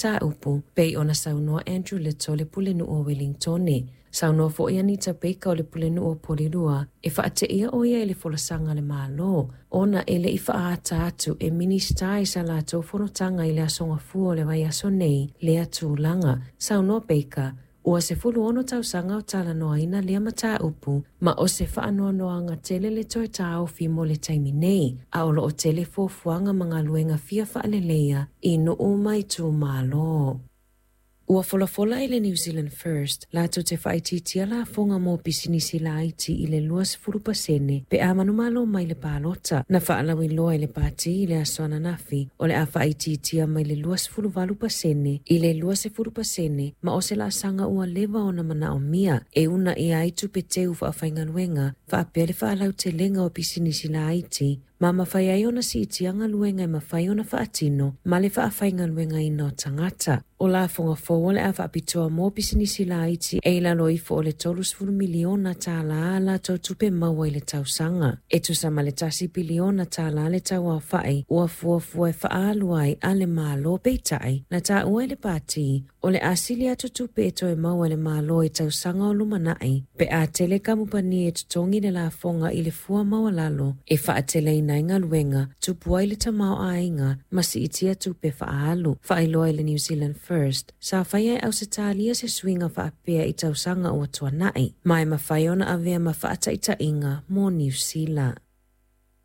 mataupu, pei ona saunoa Andrew Little le Pulenuu o Welingtone. Saunoa foi Anita Baker o le Pulenuu o Porirua e faateia o ia i le folasaga a le Malo ona e le i faaata atu e Minisita i sa latou fonotaga i le Aso Gafua o le vaiaso nei lea tulaga. Saunoa Baker, ua 16 tausaga o talanoaina lea mataupu ma o se faanoanoaga tele le toe taofi mo le taimi nei, a o loo tele fuafuaga ma galuega fia faaleleia i nuu ma itumalo. Ua folafola e le New Zealand First latou te faaitiitia lafoga mo pisinisi laiti i le 20% pe a manumalo mai le palota. Na faalauiloa e le pati i le aso ananafi o le a faaitiitia mai le 28% i le 20% ma o se laasaga ua leva ona manaomia e uunaia ai tupe teu faafaigaluega faapea le faalautelega o pisinisi laiti ma mafai ai ona siitia galuega e mafai ona faatino ma le faafaigaluegaina o tagata. O lafoga fou o le a faapitoa mo pisinisi laiti e i lalo ifo o le $30 miliona a latou tupe maua i le tausaga. E tusa ma le $1 piliona le tauaofa'i ua fuafua e faaalu ai a le Malo. Peitai, na taua e le pati o le a sili atu tupe e toe maua e le Malo i tausaga o lumanai pe a tele kamupani e totogi le lafoga i le fua maualalo e faateleina ai galuega, tupu ai le tamaoaiga ma siitia tupe faaalu. Faailoa e le New Zealand First, sa faia e Ausetalia se suiga faapea i tausaga ua tuanai, ma e mafai ona avea ma faataitaiga mo Niu Sila.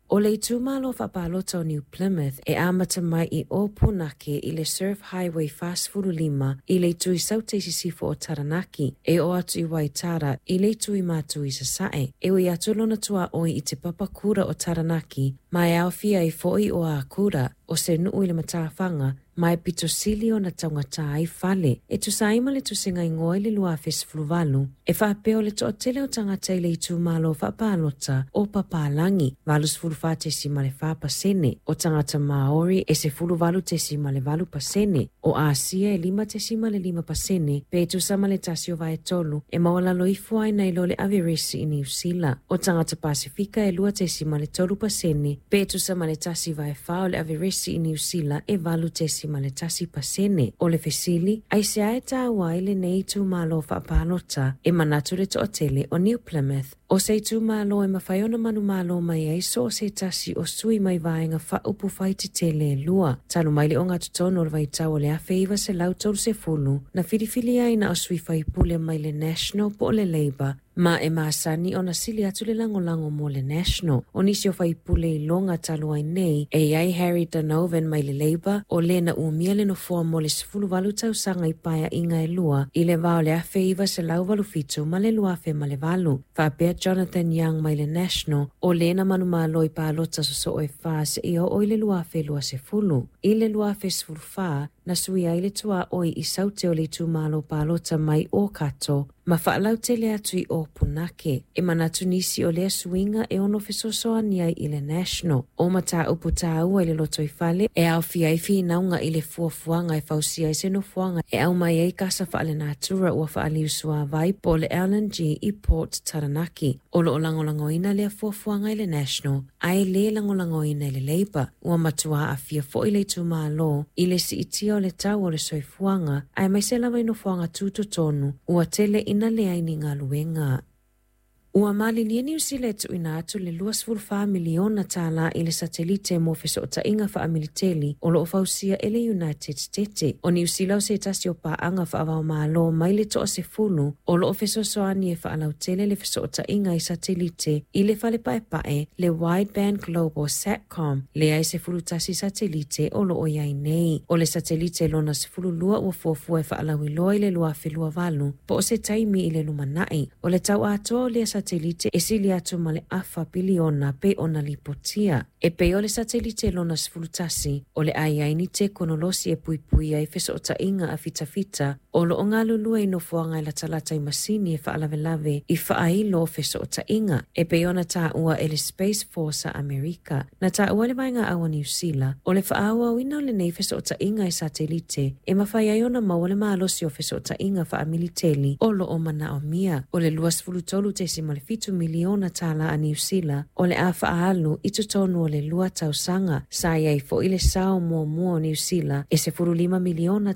O le itumalo faapalota o New Plymouth e amata mai i Ōpunake i le Surf Highway 45 i le itu i saute i sisifo o Taranaki, e oo atu i Waitara i le itu i matu i sasae. E ui atu lona tuaoi i te papakura o Taranaki, ma e aofia ai foi o Akura, o se nuu i le matafaga, ma e pito sili ona taugata ai fale. E tusa ai ma le tusiga igoa i le 2018, e faapea o le toatele o tagata i le itumalo faapalota o papalagi, 84.4%, o tagata Maori e 18.8%, o Asia e 5.5%, pe tusa ma le 1/3 e maualalo ifo ai nai lo le averesi i Niu Sila. O tagata Pasifika e 2.3%, pe tusa ma le 1/4 o le averesi i Niu Sila e 8.1%. O le fesili, aisea e taua ai lenei itumalo faapalota? E manatu le toatele o New Plymouth o se itumalo e mafai ona manumalo mai ai so o se tasi o sui mai vaega faaupufai tetele e lua. Talu mai le ogatotonu o le vaitau o le 1930, na filifilia ai na o sui faipule mai le National po o le Labour, ma e masani ona sili atu le lagolago mo le National. O nisi o faipule iloga talu ai nei, e i ai Harry Donovan mai le Labour, o le na umia le nofoa mo le 18 tausaga i paeaiga e lua i le va o le 1987 ma le 2008, faapea Jonathan Young mai le National, o le na manumalo i palota sosoo e 4 seia oo i le 2020. I le 2014, na sui ai le tuaoi i saute o le itumalo palota mai Ōkato ma faalautele atu i Ōpunake. E manatu nisi o lea suiga e ono fesoasoani ai i le National. O mataupu taua i le lotoifale e aofia ai finauga i le fuafuaga e fausia ai se nofoaga e aumai ai kasa faalenatura ua faaliusuāvai po o le LNG i Port Taranaki. O loo lagolagoina lea fuafuaga i le National, ae lē lagolagoina i le Labour. Ua matua aafia foi le itumalo i le siitia o le tau o le soifuaga, aemaise lava i nofoaga tutotonu ua tele ina leai ni galuega. Ua malilie Niu Sila e tuuina atu le $24 miliona i le satelite mo fesootaiga faamiliteli o loo fausia e le United States. O Niu Sila o se tasi o paaga faavaomalo mai le 10 o loo fesoasoani e faalautele le fesootaiga i satelite i le fale paepae le Wideband Global Satcom, lea e 11 satelite o loo i ai nei. O le satelite lona 12 ua fuafua e faalauiloa i le 2028 po o se taimi i le lumanai. O le tau atoa o lea satelite e sili atu ma le afa piliona pe ona lipotia. E pei o le satelite lona 11, o le a i ai ni tekonolosi e puipui ai fesootaiga a fitafita o loo galulue i nofoaga e latalata i masini e faalavelave i faailo o fesootaiga, e pei ona taua e le Space Force a Amerika. Na taua le vaega au a Niu Sila, o le faaauauina o lenei fesootaiga e satelite e mafai ai ona maua le malosi o fesootaiga faamiliteli o loo manaomia. O le $23.7 miliona a Niu Sila o le a faaalu i totonu o le 2 tausaga. Sa i ai foi le sao muamua o Niu Sila e $15 miliona.